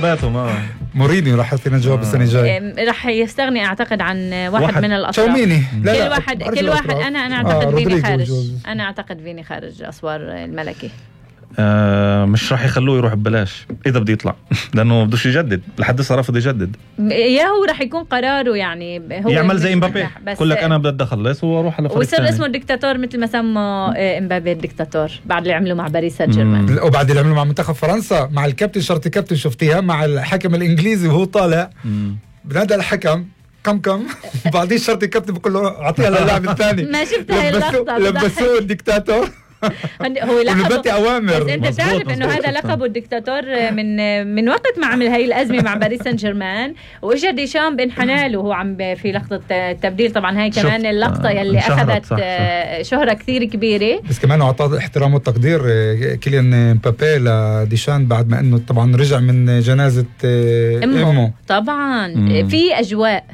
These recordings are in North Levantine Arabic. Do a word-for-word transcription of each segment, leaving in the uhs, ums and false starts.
ما مورينيو راح يعطينا جواب السنه الجايه. راح يستغني اعتقد عن واحد, واحد من الاطراف. تشاوميني. كل لا واحد لا كل واحد انا انا اعتقد آه فيني خارج جوز. انا اعتقد فيني خارج اسوار الملكي. آه مش راح يخلوه يروح ببلاش اذا بده يطلع لانه بدوش يجدد لحد هسه رافض يجدد. يا هو راح يكون قراره يعني هو يعمل زي امبابي يقول لك انا بدي اخلص واروح على فريق ويصير اسمه الدكتاتور مثل ما سموا امبابي الدكتاتور بعد اللي عملوا مع باريس سان جيرمان وبعد اللي عملوا مع منتخب فرنسا مع الكابتن شرطي كابتن شفتيها مع الحكم الانجليزي وهو طالع بنادى الحكم كم كم بعدين شرطي كابتن بقول له اعطيها للاعب الثاني. ما شفت هاي اللقطه لبسوه الدكتاتور هو لقبه أوامر. بس انت بتعرف انه هذا لقبه الدكتاتور من من وقت ما عمل هاي الازمه مع باريس سان جيرمان واجا ديشامب انحنى له وهو عم في لقطه التبديل. طبعا هاي كمان اللقطه يلي اخذت شهره كثير كبيره بس كمان اعطاه احترام وتقدير كيليان امبابي لديشان بعد ما انه طبعا رجع من جنازه امه, أمه. طبعا مم. في اجواء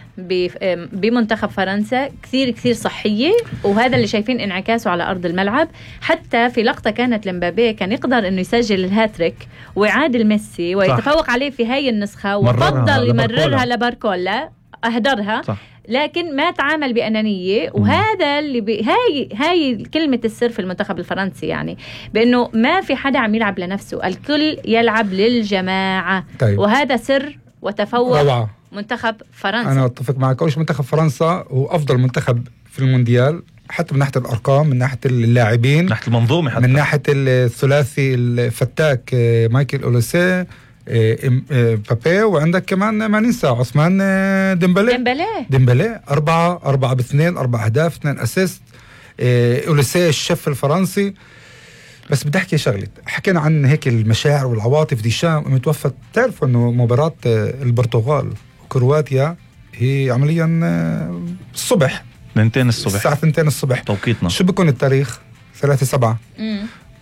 بمنتخب فرنسا كثير كثير صحيه وهذا اللي شايفين انعكاسه على ارض الملعب. حتى في لقطه كانت لمبابي كان يقدر انه يسجل الهاتريك ويعادل ميسي ويتفوق صح. عليه في هاي النسخه وفضل يمررها لباركولا اهدرها صح. لكن ما تعامل بأنانية وهذا اللي بي هاي هاي كلمة السر في المنتخب الفرنسي يعني بأنه ما في حدا عم يلعب لنفسه الكل يلعب للجماعة طيب. وهذا سر وتفوق روعة. منتخب فرنسا. أنا أتفق معك أوش منتخب فرنسا هو أفضل منتخب في المونديال حتى من ناحية الأرقام من ناحية اللاعبين من ناحية المنظومة حتى. من ناحية الثلاثي الفتاك مايكل أوليسي بابي وعندك كمان ما ننسى عثمان ديمبلي ديمبلي ديمبلي أربعة أربعة باثنين أربعة أهداف اثنين أسيست. أوليسي الشيف الفرنسي. بس بدي أحكي شغلة حكينا عن هيك المشاعر والعواطف ديشام متوفى. تعرفوا إنه مباراة البرتغال وكرواتيا هي عمليا الصبح اثنتين الصبح الساعة اثنتين الصبح توقيتنا. شو بيكون التاريخ؟ ثلاثة سبعة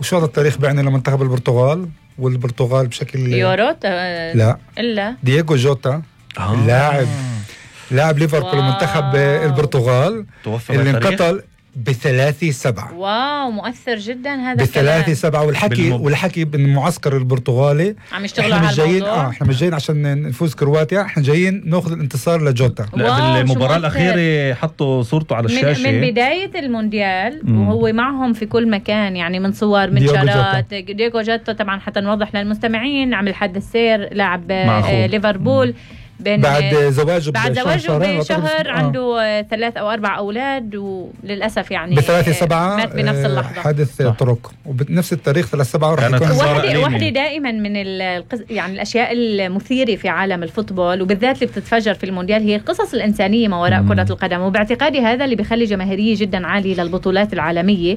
وشو هذا التاريخ بيعني لمنتخب البرتغال والبرتغال بشكل يورو لا إلا دييغو جوتا آه. اللاعب لاعب ليفربول منتخب البرتغال اللي انقتل بثلاثة سبعة. واو مؤثر جدا هذا بثلاثة سبعة والحكي بالمب... والحكي بالمعسكر البرتغالي عم يشتغلوا على الموضوع. اه احنا مش جايين عشان نفوز كرواتيا احنا جايين ناخذ الانتصار لجوتا. لا بالمباراة الأخيرة حطوا صورته على الشاشة من, من بداية المونديال مم. وهو معهم في كل مكان يعني من صور من شارات دييغو جوتا. طبعا حتى نوضح للمستمعين عمل حادث سير لاعب آه ليفربول بعد زواجه بعد زواجه بشهر عنده آه. ثلاث أو أربع أولاد وللأسف يعني بثلاثة سبعة مات بنفس اللحظة حادث طرق وبنفس التاريخ ثلاثة سبعة راح يكون واحدة واحدة دائما من القص... يعني الأشياء المثيرة في عالم الفوتبول وبالذات اللي بتتفجر في المونديال هي القصص الإنسانية ما وراء مم. كرة القدم. وباعتقادي هذا اللي بيخلي جماهيرية جدا عالية للبطولات العالمية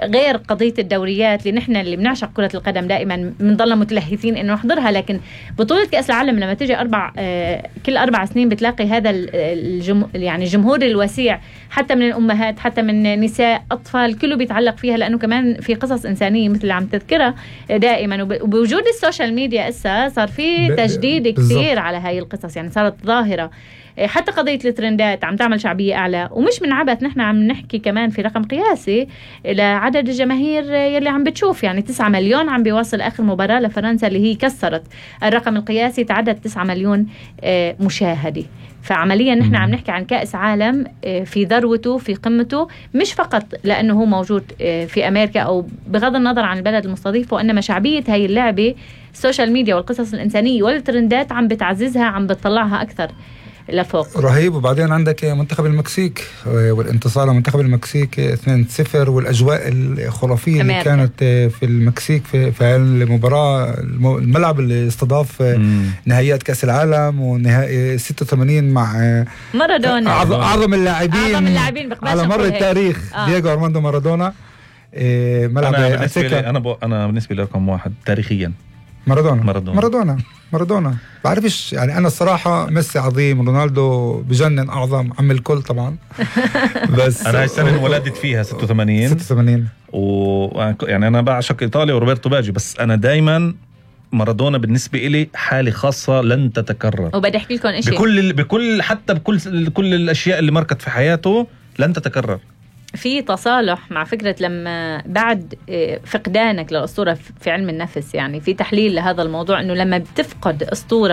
غير قضية الدوريات اللي نحن اللي بنعشق كرة القدم دائما بنضلنا متلهفين إنه نحضرها. لكن بطولة كأس العالم لما تيجي أربع آه كل أربع سنين بتلاقي هذا الجم... يعني الجمهور الوسيع حتى من الأمهات حتى من نساء أطفال كله بيتعلق فيها لأنه كمان في قصص إنسانية مثل اللي عم تذكرها دائما. وبوجود السوشيال ميديا إسا صار في تجديد كثير على هاي القصص يعني صارت ظاهرة. حتى قضية الترندات عم تعمل شعبية أعلى ومش من عبث نحن عم نحكي كمان في رقم قياسي لعدد الجماهير يلي عم بتشوف يعني تسعة مليون عم بيوصل آخر مباراة لفرنسا اللي هي كسرت الرقم القياسي تعدد تسعة مليون مشاهدة. فعمليا نحن عم نحكي عن كأس عالم في ذروته في قمته مش فقط لأنه هو موجود في أمريكا أو بغض النظر عن البلد المستضيف وإنما شعبية هاي اللعبة السوشيال ميديا والقصص الإنسانية والترندات عم بتعززها عم بتطلعها أكثر لفوق. رهيب. وبعدين عندك منتخب المكسيك والانتصار لمنتخب المكسيك اثنين صفر والأجواء الخرافية اللي كانت في المكسيك في, في المباراة الملعب اللي استضاف مم. نهائيات كأس العالم ونهائي ستة وثمانين مع مارادونا أعظم اللاعبين على مر التاريخ آه. دييغو أرماندو مارادونا. ملعب أنا بالنسبة لي أنا, ب... أنا بالنسبة لي رقم واحد تاريخيا مارادونا مارادونا مارادونا مارادونا بعرفش يعني أنا الصراحة ميسي عظيم رونالدو بجنن أعظم عم الكل طبعا بس أنا هاي السنة ولدت فيها ستة وثمانين ستة وثمانين و يعني أنا بعشق إيطاليا وروبرتو باجي بس أنا دايما مارادونا بالنسبة إلي حالة خاصة لن تتكرر. وبدي أحكي لكم إشي بكل بكل حتى بكل كل الأشياء اللي مركت في حياته لن تتكرر. في تصالح مع فكرة لما بعد فقدانك للأسطورة في علم النفس، يعني في تحليل لهذا الموضوع، إنه لما بتفقد أسطورة